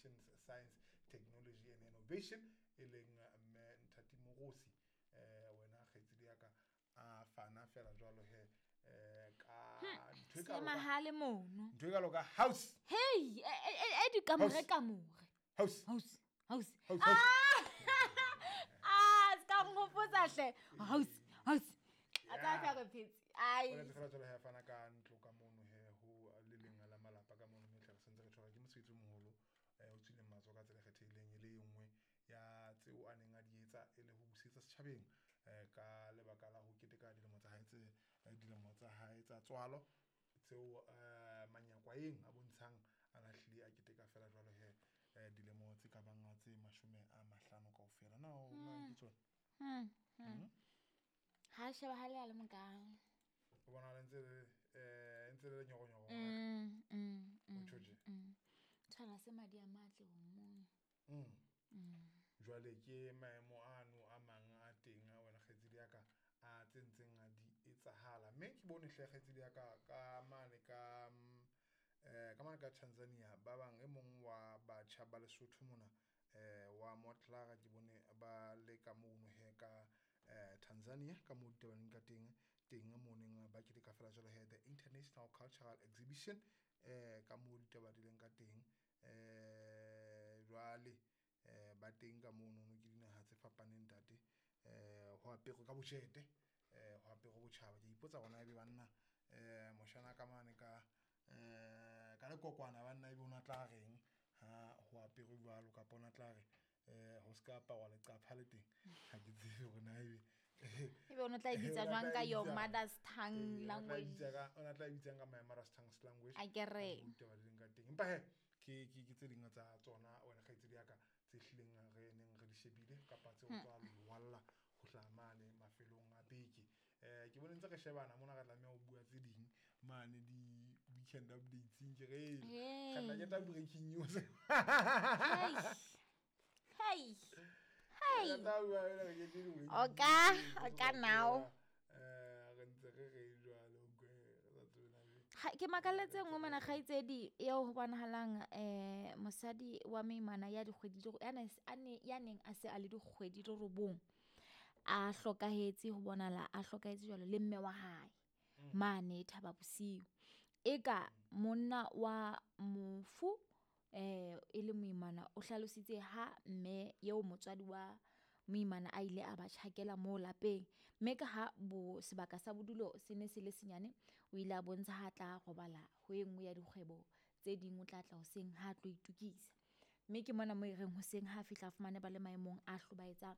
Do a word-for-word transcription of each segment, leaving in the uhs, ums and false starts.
Communications, Science, Technology and Innovation e leng mme Nthati Mogosi eh wena kgaitsedi ya ka a fana fela jwalo he eh ka ntho e kalo ka- Seemahale mono. ntho e kalo ka house Hey, e e e dikamore House. kamore. house House, house. House, house. Ah, ska nghopotsa hle. House, house. A tsa fa re phetse. Ai. O letse fela jwalo he a fana ka ntlo ka mono he ho le leng la malapa ka mono mme tle re sentse re tshwara ke mosebetsi o moholo eh o tswileng matsoho ka tsela e kgethehileng e le e nngwe ya tseo a neng a di etsa e le ho busetsa setjhabeng eh ka lebaka la ho keteka dilemo tsa hae tse eh, dilemo tsa hae tsa tswalo tseo eh manyakwaeng a bontshang a na hlile a keteka fela jwalo he eh dilemo tse ka bang tse mashome a mahlano kaofela na o na ke tsona Hmm. hmm. Ha shebahale a le mokang. o bona le ntse le eh ntse le nyoronyoro Mm, mm, o mm. tjho tje Tshwana se madi a matle ho mong. Mm. Jwale ke maemo ano a mang a teng a wena kgaitsedi ya ka a tse ntseng a di etsahala mme ke bone hle kgaitsedi ya ka ka mane ka mm, eh ka mane ka Tanzania ba bang e mong wa batjha ba Lesotho mona eh wa Motlara ke bone ba le ka mono he ka eh Tanzania ka moo ditabaneng ka teng teng moneng ba keteka fela jwalo he the International Cultural Exhibition eh ka moo ditaba di leng ka teng eh jwale eh ba teng ka mono no ke dinaha tse fapaneng ntate eh ho aperwe ka botjhete eh ho aperwe botjhaba ke ipotsa hore na ebe banna eh moshana ka mane ka eh ka lekokwana banna ebe o na tla reng ha ho aperwe jwalo kapa o na tla re eh ho ska aparwa leqapha le teng ha ke tsebe hore na ebe Ebe o no tla e bitsa O na jwang tla ka e your bitsa- mother's tongue Eh, o na tla e language? bitsa ka- o na tla e bitsang ka my mother's tongue language Akere. Ka moo ditaba di leng ka teng empa he ke ke ke tse ding tsa tsona wena kgaitsedi ya ka tse hlileng re neng re di shebile kapa tseo tswa lwalla ho hlaha mane mafelong a beke eh ke bone ntse re shebana mona re tlameha ho bua tse ding mane di weekend updates ke re Hey. re tla keta breaking news Hey. Hey. Hey. Re tla bua ena re kete di-breaking Oka, news. oka now. Eh re ntse re re jwalo kwe re sa tsebe na ebe Ga- ke makalletse nngwe mona kgaitsedi eo ho bonahalang eh mosadi wa moimana ya dikgwedi di ya ne- a ne- ya neng a se a le dikgwedi di robong a hlokahetse ho bonahala a hlokahetse jwalo le mme wa hae mane Thaba Bosiu e ka monna wa mofu eh e le moimana o hlalositse ha mme eo motswadi wa moimana a ile a ba tjhakela moo lapeng mme ka ha bo sebaka sa bodulo se ne se le senyane o ile a bontsha ha tla robala ho e nngwe ya dikgwebo tse ding o tla tla hoseng ha a tlo itukisa mme ke mona mo e reng hoseng ha a fihla a fumane ba le maemong a hlobaetsang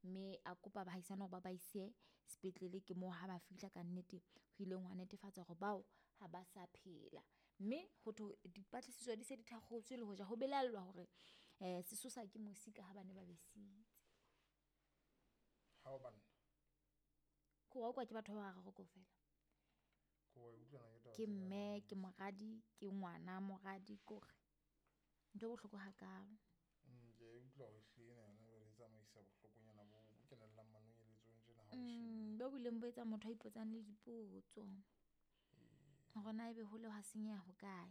mme a kopa baahisane hore ba ba ise sepetlele ke moo ha ba fihla ka nnete ho ileng hwa netefatsa hore bao ha ba sa phela mme ho thwe dipatlisiso di se di thakgotswe le hoja ho belaellwa hore eh sesosa ke mosi ka ha ba ne ba besitse ha o banna ko wa kwa ke batho ba bararo kaofela ko wa utlwana ke taba ke tse mme kang. ke moradi ke ngwana moradi kore ntho e bohloko hakalo Mm, ke a e utlwa hore ehlile ena yona jwale e tsamaisa bohlokonyana bo bo kenellang manonyeletsong tjena ha o e shebile. Mm, bo bileng bo etsa motho a ipotsang le dipotso hore na ebe hole hwa senyeha hokae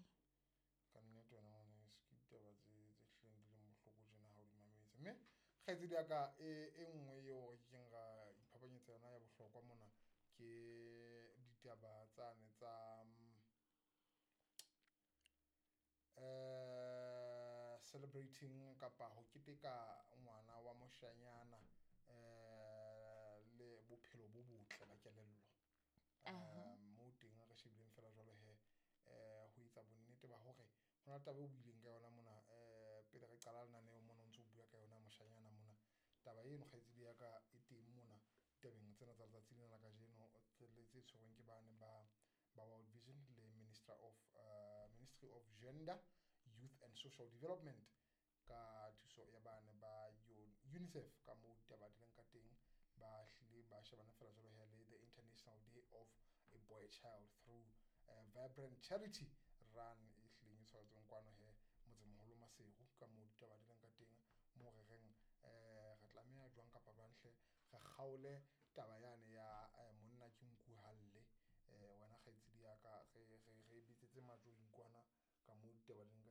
Ka nnete wena ngwaneso ke ditaba tse tse hlileng di leng bohloko tjena ha o di mametse. Mme kgaitsedi ya ka e e nngwe eo re kekeng ra iphapanyetsa yona ya bohlokwa mona ke ditaba tsane tsa mm, eh celebrating kapa ho keteka ngwana wa moshanyana eh le bophelo bo botle ba kelello. Eh mo teng re shebileng fela jwalo he eh ho etsa bonnete ba hore hona le taba eo o buileng ka yona mona eh pele re qala lenaneo mona o ntso o bua ka yona moshanyana mona. Taba eno kgaitsedi ya ka e teng mona tabeng tsena tsa letsatsi lena la kajeno tse le tse tshwerweng ke bane ba ba World Vision le Minister of uh, Ministry of Gender, Youth and Social Development ka thuso ya bane ba U- UNICEF ka moo ditaba di leng ka teng ba hlile ba shebana fela jwalo he le the International Day of a Boy Child through uh, Vibrant Charity Run e hlileng e tshwaretsweng kwano he motsemoholo Maseru ka moo ditaba di leng ka teng moo re reng eh re tlameha jwang kapa jwang hle re kgaole taba yane ya eh, monna ke nku halle eh wena kgaitsedi ya ka re re re bitsetse majweng kwana ka moo ditaba di leng ka